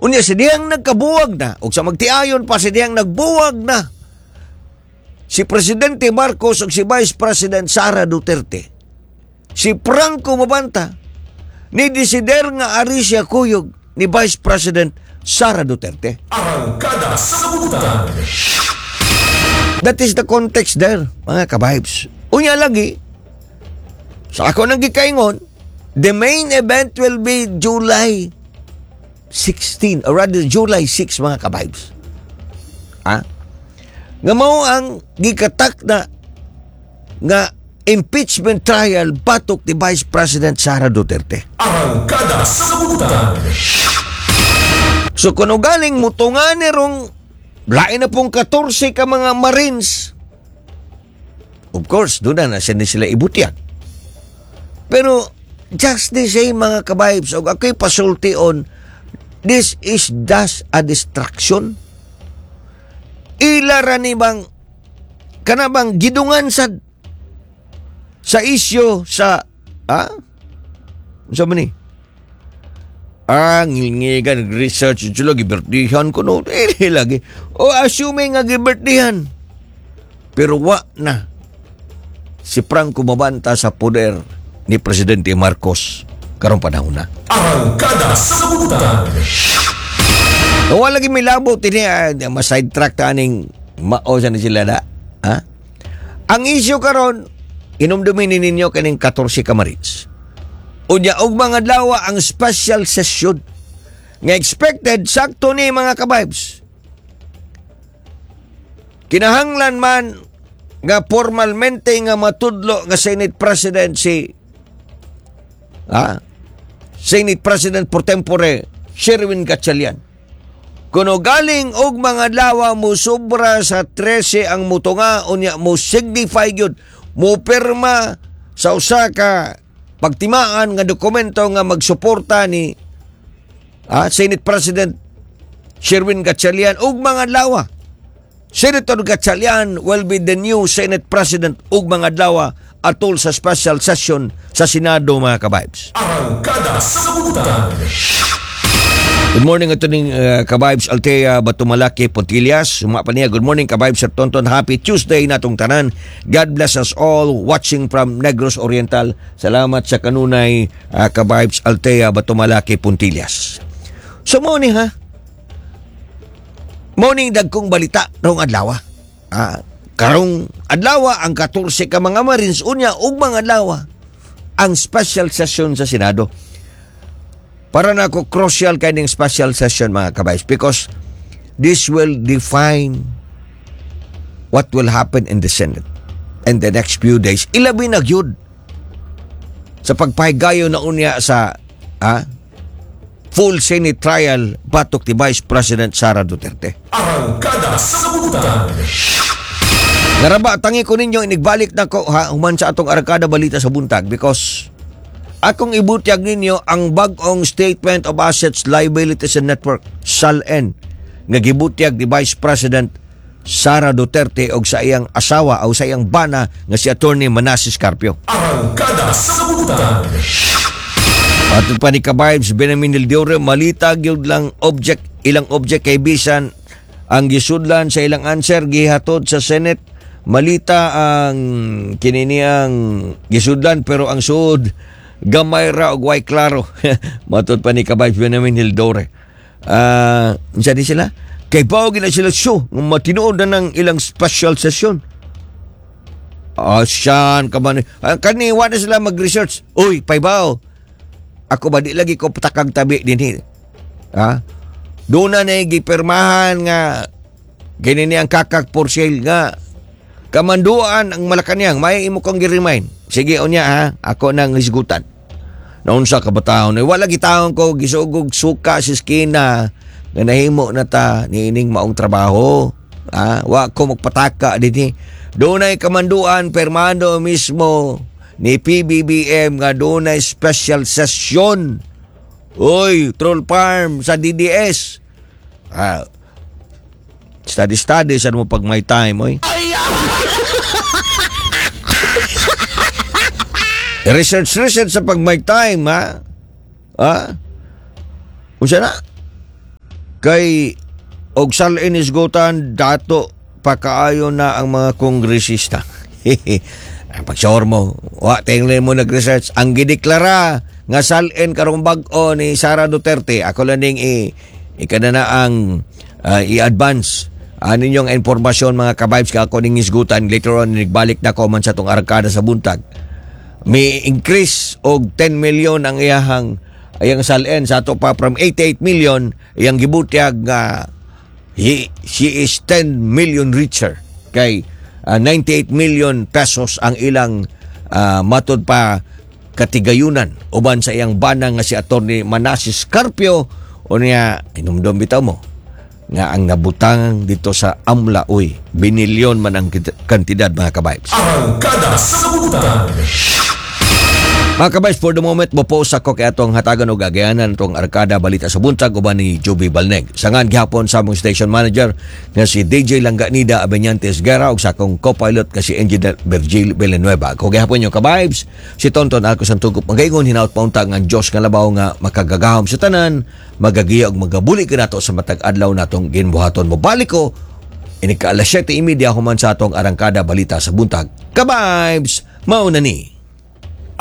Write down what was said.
Unya sa dihang nagkabuwag na, o sa magtiayon pa sa dihang nagbuwag na, si Presidente Marcos o si Vice President Sara Duterte, si Franco Mabanta, ni desider nga ari siya kuyog ni Vice President Sara Duterte. Arangkada sa Kalibutan. That is the context there, mga kabibes. Unya lagi, sa ako nang gikaingon, the main event will be July 16 or rather July 6, mga kabibes. Ha? Nga mao ang gikatak na nga impeachment trial batok ni Vice President Sara Duterte. Arangkada sa Kalibutan. So kung galing mutunga ni rong lain na pong 14 ka mga Marines. Of course, doon na na sila ibutyag. Pero just the same, mga kabibes, og ako'y pasulti on, this is just a distraction. Ila ra ni bang kana bang gidungan sad sa isyu sa unsa man ni? Ah, ngilngigan, nag-research sila, gibirtihan ko no. Eh, lagi. O, assuming nga gibirtihan. Pero wa na si Franco Mabanta sa poder ni Presidente Marcos karong panahon na. Arangkada sa Kalibutan. Wala lagi may labo tini, ma-sidetrack ta aning mao sa ni sila na. Ha? Ang issue karon, inumdumin ninyo kaning 14 ka Marines. Unya og mga adlaw ang special session nga expected sakto ni, mga kabibes. Kinahanglan man nga formalmente nga matudlo nga Senate President si Senate President pro tempore Sherwin Gatchalian. Kuno galing og mga adlaw mo sobra sa 13 ang mutunga, unya mo signify gyud, mo pirma sa usa ka pagtimaan nga dokumento nga magsuporta ni Senate President Sherwin Gatchalian ug mga adlaw. Senator Gatchalian will be the new Senate President ug mga adlaw atol sa special session sa Senado, mga kabibes. Arangkada sa Kalibutan. Good morning ito ning kabibes Altea Batumalaki Pontillas. Suma pa niya. Good morning, kabibes Sir Tonton. Happy Tuesday natong tanan. God bless us all watching from Negros Oriental. Salamat sa kanunay, kabibes Altea Batumalaki Pontillas. So mo ni ha. Morning dagkong balita rong adlaw. Karong adlaw ang 14 ka mga Marines, unya ug mga adlaw ang special session sa Senado. Para na ako, crucial kay ning special session, mga kabibes, because this will define what will happen in the Senate in the next few days. Ilabi na gyud sa pagpahigayon na unya sa full Senate trial batok ni Vice President Sara Duterte. Arangkada sa Kalibutan. Naraba, tangi ko ninyo, inigbalik na ko ha, human sa atong Arangkada Balita sa Buntag because akong ibutyag ninyo ang bag-ong Statement of Assets, Liabilities and Network, SALN, nga gibutyag ni Vice President Sara Duterte og sa iyang asawa o sa iyang bana nga si Attorney Manasis Carpio. Arangkada sa Kalibutan. Atong pa ni Kabibes Benjamin Hildiore, malita gyud lang object ilang object kay bisan ang gisudlan sa ilang answer gihatod sa Senate, malita ang kininiang gisudlan pero ang suod gamay ra og way klaro, matud pa ni Kabibes Benjamin Hildore. Unsa di sila kay bao gina sila show nga matinuod na ng ilang special session. Siyan ka man. Kani wa na sila mag-research. Uy, paybaw. Ako ba di lagi ko patakag tabi din? Ha? Doon na na gipirmahan nga kini ang kakak for sale nga kamanduan ang Malacanang, may imo kong gi-remind. Sige unya ha, ako nang hisgutan. Naunsa ka bataon? Eh, wala gitawon ko gisugog suka sa eskina nga nahimo na ta niining maong trabaho. Ha? Wa ko magpataka dinhi. Dunay kamanduan permando mismo ni PBBM nga dunay special session. Uy, troll farm sa DDS. Study study sa mo pag may time, oy. Research research sa pag may time, ha? Ha? Unsa na? Kay og salin isgutan, dato pakaayo na ang mga kongresista. Pag mo, wa tingnan mo nag-research ang gideklara nga salin karong bag-o ni Sara Duterte. Ako lang ning i ikana ang i-advance ninyong impormasyon, mga kabibes, ka ako ning isgutan later on, nagbalik na ko man sa tong arangkada sa buntag. May increase og 10 million ang iyahang iyang salin sa ato pa from 88 million iyang gibutyag nga she is 10 million richer kay 98 million pesos ang ilang matud pa katigayunan uban sa iyang bana nga si Attorney Manasis Carpio. Unya inumdum bitaw mo nga ang nabutang dito sa AMLA, uy, binilyon man ang kantidad, mga kabibes. Arangkada sa Buntag. Mga kabibes, for the moment, mo-pause ako kay atong hatagan og agayanan itong Arkada Balita sa Buntag uban ni Joby Balneg. Sangan gihapon sa among station manager nga si DJ Langganida Abenyantes Guerra ug sa akong co-pilot nga si Engineer Virgil Villanueva. Ako gihapon yung kabibes, si Tonton Alco Santugop magaingon hinaut paunta nga ang Diyos nga labaw nga makagagahom sa tanan, magagiya ug magabuli kanato sa matag adlaw natong ginbuhaton. Mobalik ko inig ka alas 7:30 human sa atong Arangkada Balita sa Buntag. Kabibes, mauna ni.